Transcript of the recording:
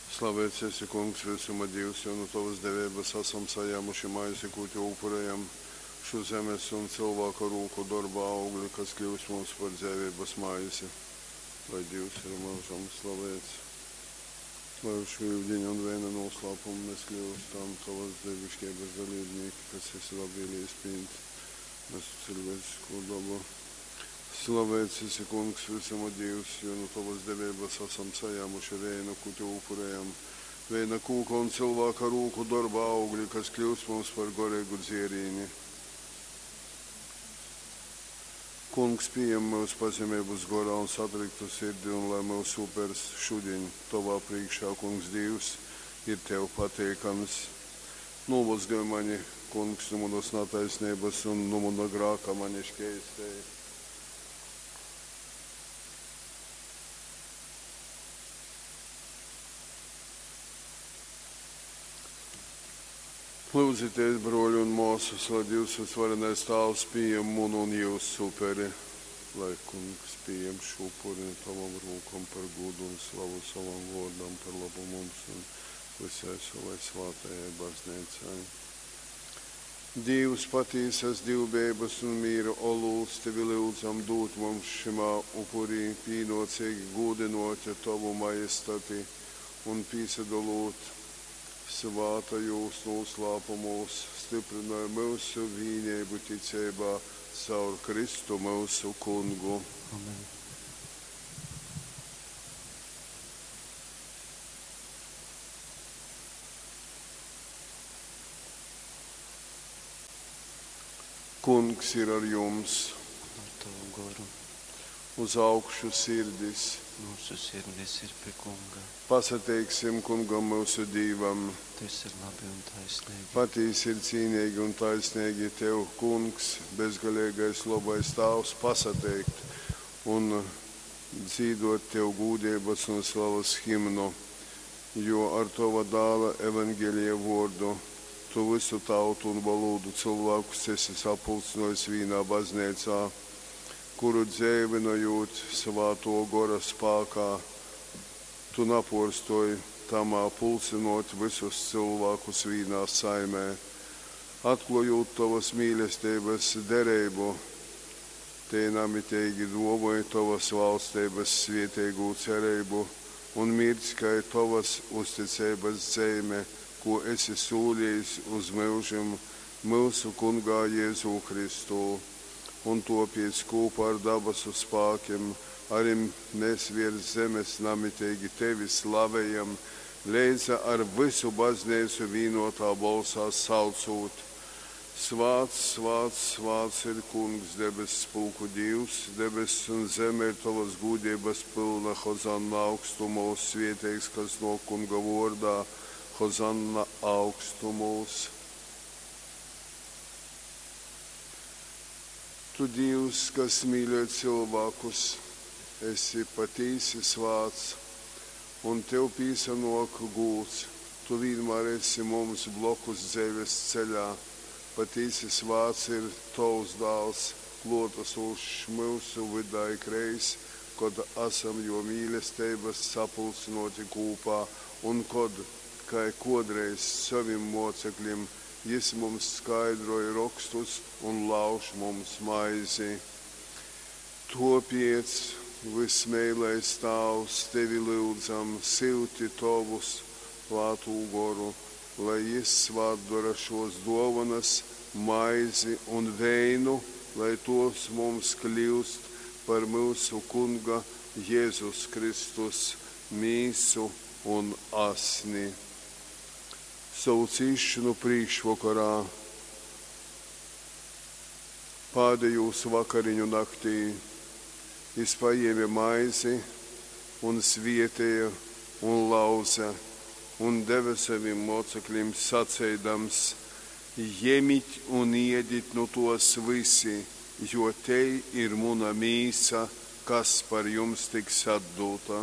Slaveits esi, Kungs, vysuma Dīvs, jo nu tovas deveibas asam sajāmuši maizi, kū tev upurejam, šu zemes un cylvāka rūku dorba augli, kas kļyus mums par dzeiveibas maizi. Lai Dīvs ir myužam slaveits. Lai ar šū yudiņa un veina nūslāpumu mēs kļyustam tovas dieviškeibas dalībnieki, kas esi labvēlējis pieņemt mūsu cilvēcisko dabu. Slaveits esi, Kungs, vysuma Dīvs, jo nu tovas deveibas asam sajāmuši veinu, kū tev upurējam. Veina kūka un cylvāka rūku dorba augli, kas kļūst mums par goreigu dzierīni. Kungs, pieņem mūsu pazemeibas gorā un satriktu sirdi, un lai mūsu upers šodien tovā priekšā, Kungs, Dīvs, ir tev pateikams. Nomazgaj mani, Kungs, no manas netaisnības un no mana grāka mani šķeistēji. Lūdzieties, broļi un māsas, lai Dievs visvarenais Tāvs pieņem munu un jūsu uperi, lai Kungs pieņem šo upuri no tavam rūkam par godu un slavu savam vārdam, par labu mums un visai savai svātajai baznīcai. Dievs patīsas divbības un mīra olūts tevi lūdzam dūt mums šimā upurī pīnocīgi gūdinot tovu majestati un pīsadalot svātajūs noslēpumos, stiprinoj mūsu vienību ticībā caur Kristu mūsu kungu. Amen. Kungs ir ar jums, Ar tavu goru uz augšu sirdis. mūsu sirdis ir pie Kunga. Pasateiksim kungam mūsu Dīvam. Tas ir labi un taisnīgi. Patīsi ir cīnīgi un taisnīgi tev, kungs, bezgalīgais labais tāvs, pasateikt un dzīdot tev gūdības un slavas himnu, jo ar tava dāla evangelija vārdu tu visu tautu un valodu cilvēkus esi sapulcinojis vienā baznīcā, kuru dzēvinojot svāto gora spākā, tu naporstoji tamā pulcinot visus cilvēkus vienā saimē, atklājot tavas mīlestības derību, te namitīgi dāvoja tavas valstības svētīgo cerību un mirdz kai tavas uzticības zīme, ko esi solījis uz mūžiem mūsu kungā Jēzū Kristū. Un topiec kopā ar dabasu spēkiem arī mēs virs zemes namitīgi tevi slavējam, leidza ar visu baznīcu vienotā balsā saucot. Svāts, svāts, svāts ir kungs, debes spulku Dievs, debes un zeme ir tavas gūdības pilna, Hozanna augstumos, svieteigs, kas no kunga vordā, Hozanna augstumos. Tu Dievs, kas mīļo cilvēkus, esi patīsi svāts, un tev pīsanok gūts, tu vienmēr esi mums blokus dzīves ceļā. Patīsi svāts ir tavs dāls, klotasošs mūsu vidā ikreiz, kad esam jo mīlestības sapulcinoti kopā, un kad, kā kodreiz saviem mocekļiem, jis mums skaidroja rakstus un lauž mums maizi. Topiec, vismīlais Tāvs, tevi lūdzam, silti tavus svātū goru, lai jis svātdara šos dovanas, maizi un veinu, lai tos mums kļūst par mūsu kunga Jēzus Kristus mīsu un asni. Savu cīšanu priekšvakarā, pēdējos vakariņu naktī, jis paņēma maizi un svietēja un lauza un deva saviem mocekļiem sacīdams: Ņemiet un iediet no tos visi, jo te ir muna mīsa, kas par jums tiks atdota.